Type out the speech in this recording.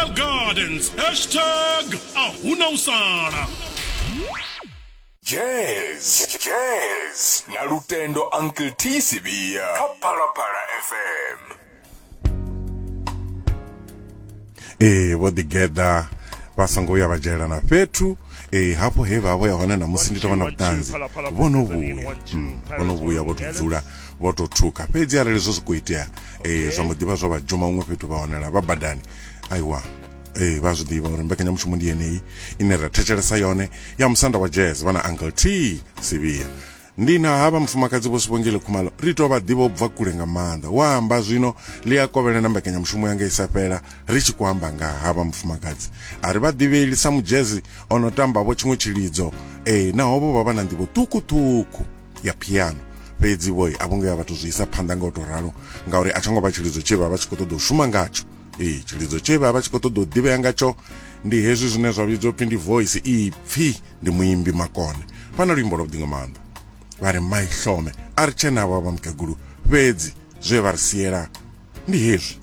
Royal Gardens. Hashtag a huna u sala. Jazz, jazz na Lutendo Uncle T Sibia kha Phalaphala FM. Ee, vho ḓigeḓa vha songo vhuya vha dzhaela na fhethu. Ee, hafho he vha vho ya hone ṋamusi ndi tou vha na vhuṱanzi, vho no vhuya. Mm, vho no vhuya vho tou dzula vho tou thukha. Fhedzi arali zwo sokou itea ee, zwa mbo ḓivha zwo vha dzhuma huṅwe fhethu vha wanala vha badani, aiwa ee, vha zwi ḓivha uri mbekanyamushumo ndi yeneyi ine ra thetshelesa yone ya musanda wa jazz vha na Uncle T Sivhiya. Ndi na havha mufumakadzi Vho Sibongile Khumalo ri tou vha ḓivha u bva kule nga maanḓa. Wa amba zwino ḽi a kovhela na mbekanyamushumo yanga i sa fhela ri tshi khou amba nga havha mufumakadzi. A ri vha ḓivheli sa mudzhezi o no tamba vho tshiṅwe tshilidzo ee naho vho vha vha na nḓivho ṱhukhu-ṱhukhu ya piano fhedzi vho a vho ngo ya vha tou zwi isa phanḓa nga u tou ralo ngauri a tsho ngo vha tshilidzo tshe vha vha tshi khou ṱoḓa u shuma ngatsho. Ee, tshilidzo tshe vha vha tshi khou ṱoḓa u ḓivhea ngatsho ndi hezwi zwine zwa vhidzwa upfhi ndi voice, ipfi. Ndi muimbi makone. Vha na luimbo lwavhuḓi nga maanḓa. Vha ri Maihlome a ri tshe navho vha mukegulu, fhedzi zwe vha ri siela ndi hezwi.